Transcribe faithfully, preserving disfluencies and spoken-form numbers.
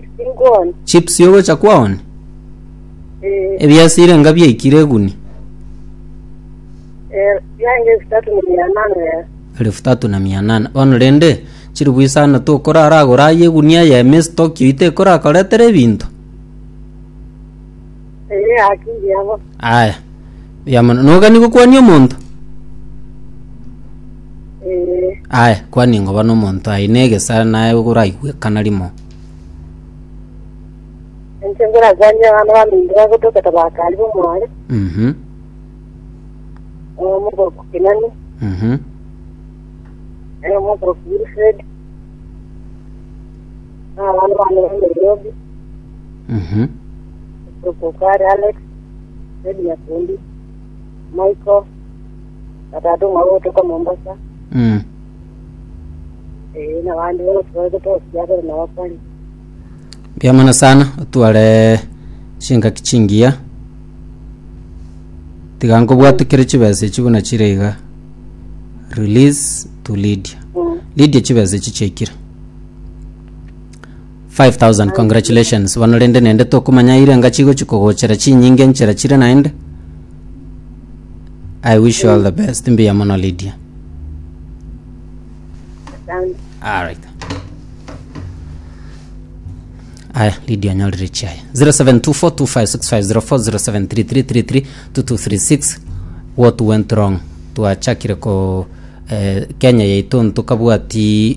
Chips nkuoni. Chips yogocha kwaoni? Eh, Ebiasire nga biaikire eguni? eh, yange elfu tatu na mia nane ya. Elfu tatu na mia nane. Bono rende chiribu isano tokoraragora aye egunia eyemo estock oite ekorakoretera ebinto. Eh, akili yabo. Aya. Mbuya mono. Nogani gokwania omonto? Eh, Aya, kwani ngoba na omonto aye na egesare naye oraigwekana rimo. enche ngorakwanya abana baminto bagotoka tabakari bomware. Mhm. Omogoko Kinani, Mhm. eh, omogoko Wilfred. Abana bane ba Nairobi, Mhm. Okokare Alex, Fred Nyakundi, Michael, batatu mwabo gotoka Mombasa. Mm. Eh, nabandi bose bagotoka kiagera nabakwani. Mbuya mono sana otware chingaki chingiya tiga nkobwatekere chibesa echi buna chire iga release to Lydia. Mm. Lydia, chibesa echi chiaikire five thousand. Congratulations. Bono rende nende tokomanya ire nga chigochi kogochera chinyinge nchera chire naende. I wish you all the best. Mbuya mono, Lydia. Asante. Alright. Aya, Lydia anyorire chiaya. zero seven two four two five six five zero four, zero seven three three three three two two three six. What went wrong? Twachakire ko eh, Kenya yaito ntukabwati.